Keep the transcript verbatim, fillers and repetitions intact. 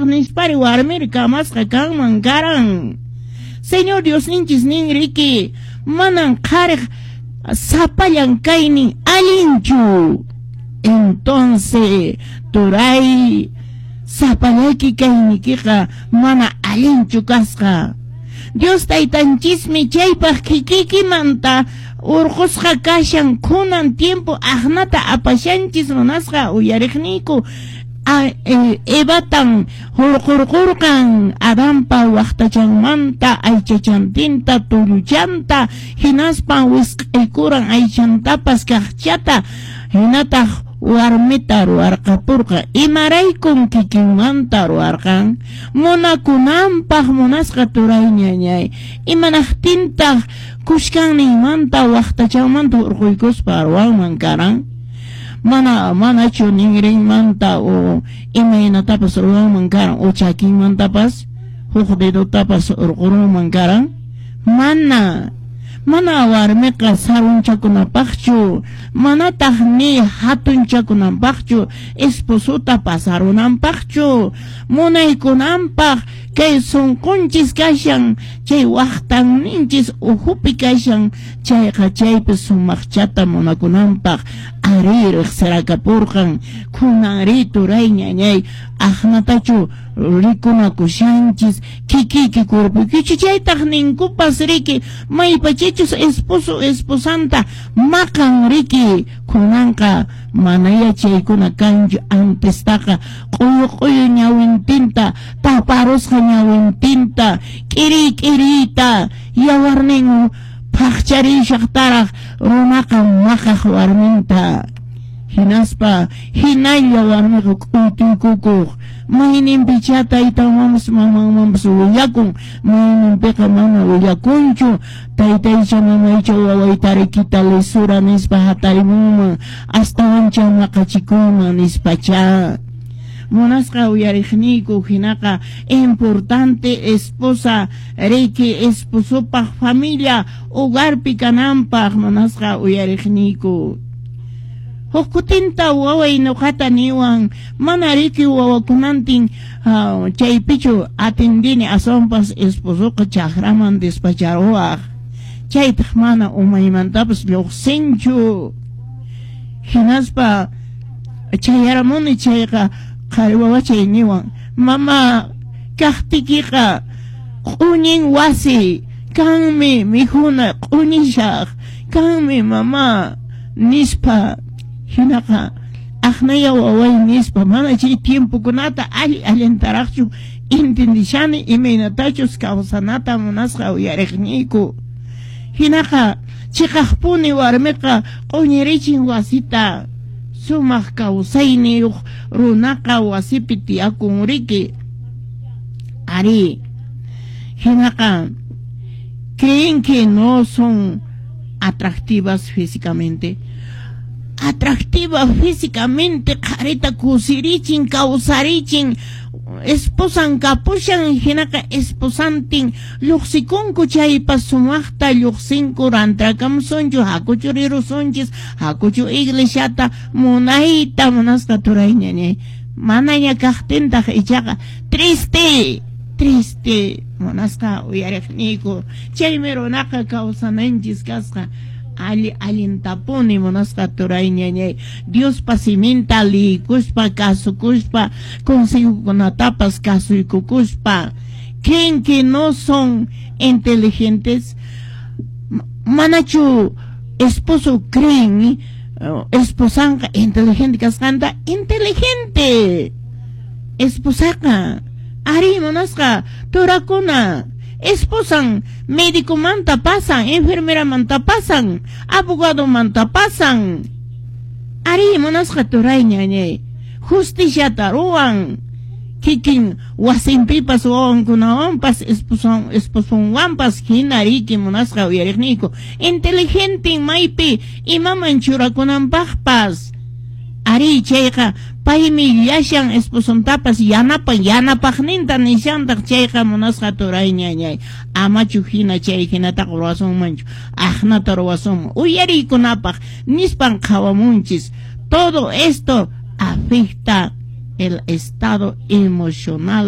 Imanapaq nispari warmiri kamasqa kanman karan? Señor Diosninchis nin riki, manan qhariq sapallan kaynin allinchu. Entonces, turay, sapallayki kaynikiqa mana allinchu kasqa. Dios taytanchismi chaypaq kikikimanta urqusqa kashan. Kunan tiempo aqnata apashanchis, munasqa uyariqniyku. E, Evatan hurqurqurqan Adanpa waqtachanmanta aychachantinta, tulluchanta, hinaspan wisq'aykuran aychantapas kaqchata, hinataq warmita ruwarqapurqa. Imaraykun kikinmanta ruwarqan? Munakunanpaq, munasqa turay, ñañay. Imanaqtintaq kushkanninmanta waqtachanmanta hurquykuspa ruwanman karan? Mana manachu ninrinmanta o imaynatapas ruwanman karan, o chakinmantapas huk dedotapas hurqurunman karan? Mana mana warmiqa sarunchakunapaqchu, manataq ni hatunchakunanpaqchu, esposota pasarunanpaqchu, munaykunanpaq. Kay sunqunchis kashan, chay waqtanninchis uhupi kashan, chayqa chaypi sumaqchata munakunanpaq ari riqsirakapurqan. Kunanri, turay, ñañay, aqnatachu rikunakushanchis kikiyki cuerpoykichu? Chaytaq ninkupas riki, maypachachus esposo esposanta maqan riki. Kunanqa manaya chaykuna kanchu. Antestaqa q'uyu q'uyu ñawintinta taparusqa, ñawintinta k'iriy k'iriyta, yawarnin phaqcharishaqtaraq runaqa maqaq warminta, hinaspa hinalla warmiqa k'uytuykukuq. Mayninpichá taytanmanpas mamanmanpas willakun, mayninpiqa mana willakunchu. Taytaycha mamaycha wawaytarikita lisura nispa hatarimunman, astawancha maqachikuyman nispachá. Munasqa uyariqniyku, hinaqa importante esposa riki esposopaq familia hogarpi kananpaq, munasqa uyariqniyku. Huk kutinta waway nuqata niwan, mana riki wawakunantin uh, chaypichu atendini, aswanpas esposoqa chakraman despacharuwaq, chaytaq mana umaymantapas lluqsinchu. Hinaspa chayaramuni chayqa qhari wawachay niwan: "Mama, kaqtikiqa q'uñin wasi, kanmi mikhuna q'uñishaq, kanmi mama", nispa. Hinaqa aqnaya waway nispa, mana chay tiempokunata alli allintaraqchu entendishani imaynatachus kawsanata, munasqa uyariqniyku. Hinaqa chiqaqpuni warmiqa q'uñirichin wasita. Sumaq kawsayniyuq runaqa wasipi tiyakun riki. Ari, hinaqa creen que no son atractivas físicamente. Atractiva físicamente, qharita kusirichin, kawsarichin. Esposan kapushan, hinaqa esposantin lluqsikunku chaypas sumaqta lluqsinku: "Rantrakamusunchu, hakuchu rirusunchis, hakuchu iglesiata", munayta, munasqa turay, ñañay. Manaña kaqtintaq ichaqa triste, triste, munasqa uyariqniyku. Chaymi runaqa kawsananchis kasqa alli allintapuni, munasqa turay, ñañay, Diospa siminta liykuspa, kasukuspa, consejokunatapas kasuykukuspa. Creen que no son inteligentes? Manachu esposo creen esposanqa inteligente kasqanta? Inteligente esposaqa ari, munasqa turakuna. Esposan médicomanta pasan, enfermeramanta pasan, abogadomanta pasan. Ari, munasqa turay, ñañay, justiciata ruwan kikin wasinpipas, wawankunawanpas, esposon esposonwanpas. Hina riki, munasqa uyariqniyku, inteligente maypi imaman churakunanpaqpas. Ari, chayqa paymi llashan, esposontapas yanapan, yanapaqninta nishantaq. Chayqa, munasqa turay, ñañay, amachu hina chay hinataqa ruwasunmanchu. Aqnata ruwasunman uyariykunapaq nispan qhawamunchis. Todo esto afecta el estado emocional.